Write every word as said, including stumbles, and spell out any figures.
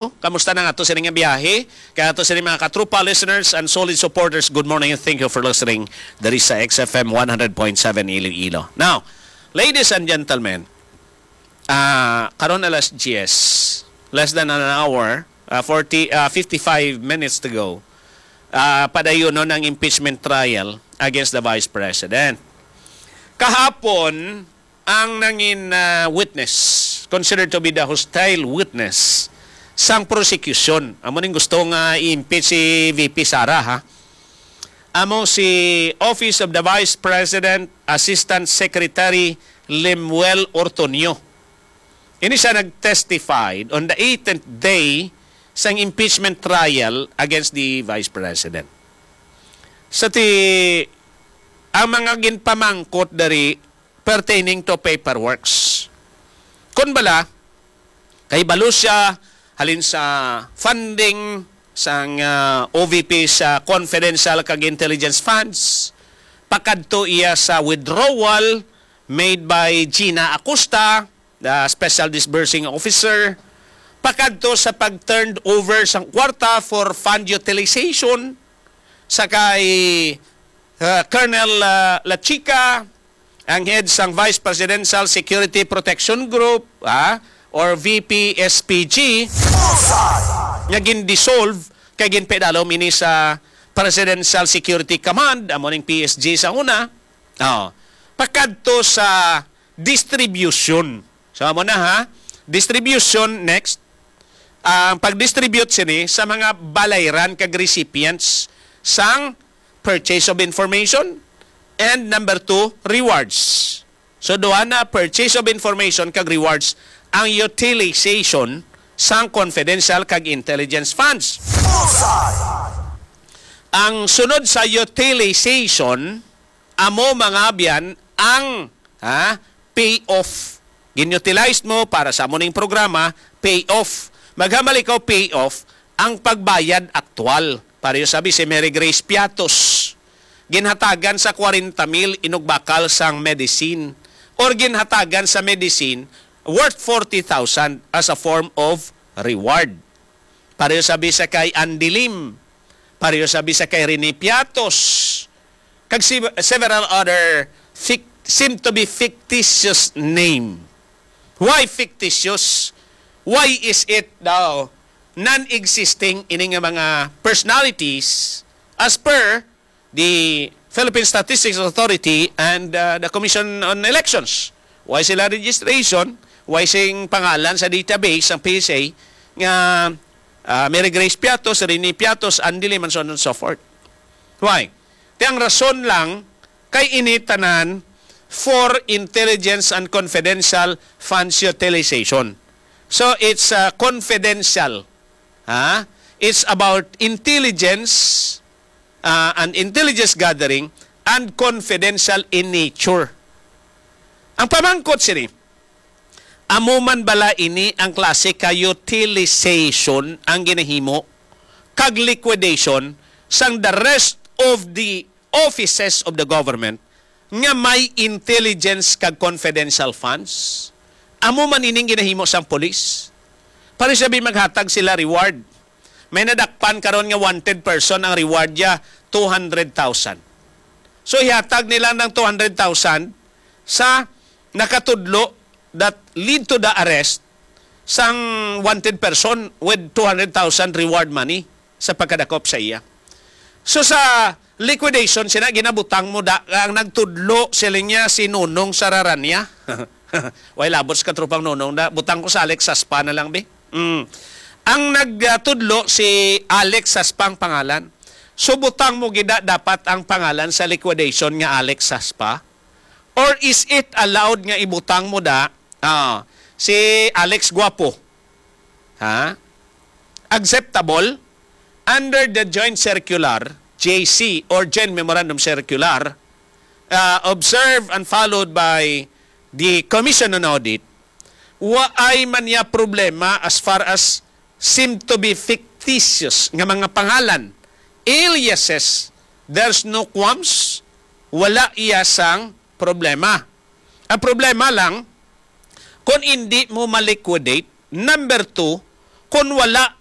Kamusta na nga to sini nga biyahe? Kaya to sini mga katropa listeners and solid supporters, good morning and thank you for listening diri sa X F M one hundred point seven Iloilo. Now, ladies and gentlemen, ah karon alas diyes, less than an hour, ah, forty, ah, fifty-five minutes to go. Ah, padayon no ng impeachment trial against the Vice President. Kahapon, ang nangin ah, witness, considered to be the hostile witness sang prosecution. Amo ning gusto nga i-impeach si V P Sara, ha? Amo si Office of the Vice President Assistant Secretary Lemuel Ortonio. Ini siya nag-testified on the eighteenth day sang impeachment trial against the Vice President. Sa ti, ang mga ginpamangkot diri pertaining to paperworks. Kun bala, kay balo siya halin sa funding sang ah, O V P sa confidential kag intelligence funds, pakadto iya sa withdrawal made by Gina Acosta, the special disbursing officer, pakadto sa pag-turned over sang kwarta for fund utilization sa kay ah, Colonel ah, Lachica, ang head sang Vice Presidential Security Protection Group, ha, or V P S P G, nga gin-dissolve kay ginpaidalom ini sa Presidential Security Command, amo ning P S G sa una. Oh. Pakadto sa distribution. So, amo na, ha. Distribution, next. Ang pag-distribute sini sa mga balayran kag recipients sang purchase of information and number two, rewards. So, duha na, purchase of information kag rewards, ang utilization sang confidential kag intelligence funds. Ang sunod sa utilization, amo, mga abyan, ang, ha, pay off. Gin-utilize mo para sa amo ning programa, pay off. Maghamal ikaw pay off ang pagbayad aktual. Pareho sabi si Mary Grace Piatos, ginhatagan sa kwarenta mil inugbakal sang medicine or ginhatagan sa medicine worth forty thousand as a form of reward. Pareho sabi sa kay Andy Lim. Pareho sabi sa kay Rene Piatos. Kag si, several other fic-, seem to be fictitious name. Why fictitious? Why is it daw non-existing ini nga mga personalities as per the Philippine Statistics Authority and uh, the Commission on Elections? Why sila registration? Why sing pangalan sa database ang P S A nga ah, Mary Grace Piatos, Rene Piatos, Andy Lim, and so on and so forth? Why? Ti ang rason lang kay ini tanan for intelligence and confidential funds utilization. So it's uh, confidential. Ha? It's about intelligence uh, and intelligence gathering and confidential in nature. Ang pamangkot sini, amo man bala ini ang klase ka utilization ang ginahimo kag liquidation sang the rest of the offices of the government nga may intelligence kag confidential funds? Amo man ining ginahimo sang pulis. Para sabi maghatag sila reward. May nadakpan karon nga wanted person, ang reward niya two hundred thousand. So ihatag nila ng two hundred thousand sa nakatudlo that lead to the arrest sang wanted person with two hundred thousand reward money sa pagkadakop sa iya. So sa liquidation, sina ginabutang mo da, ang nagtudlo, siling niya, si Nonong Sararanya. Way labot sa katropang Nonong da. Butang ko sa Alex Saspa na lang, bi. Mm. Ang nagtudlo si Alex Saspa ang pangalan. So butang mo gida dapat ang pangalan sa liquidation nga Alex Saspa? Or is it allowed nga ibutang mo da ah, si Alex Guapo? Ha? Acceptable under the joint circular, J C, or joint memorandum circular, uh, observed and followed by the Commission on Audit, waay man niya problema as far as seem to be fictitious nga mga pangalan, aliases, there's no qualms, wala iya sang problema. Ang problema lang, kung hindi mo ma-liquidate, number two, kon wala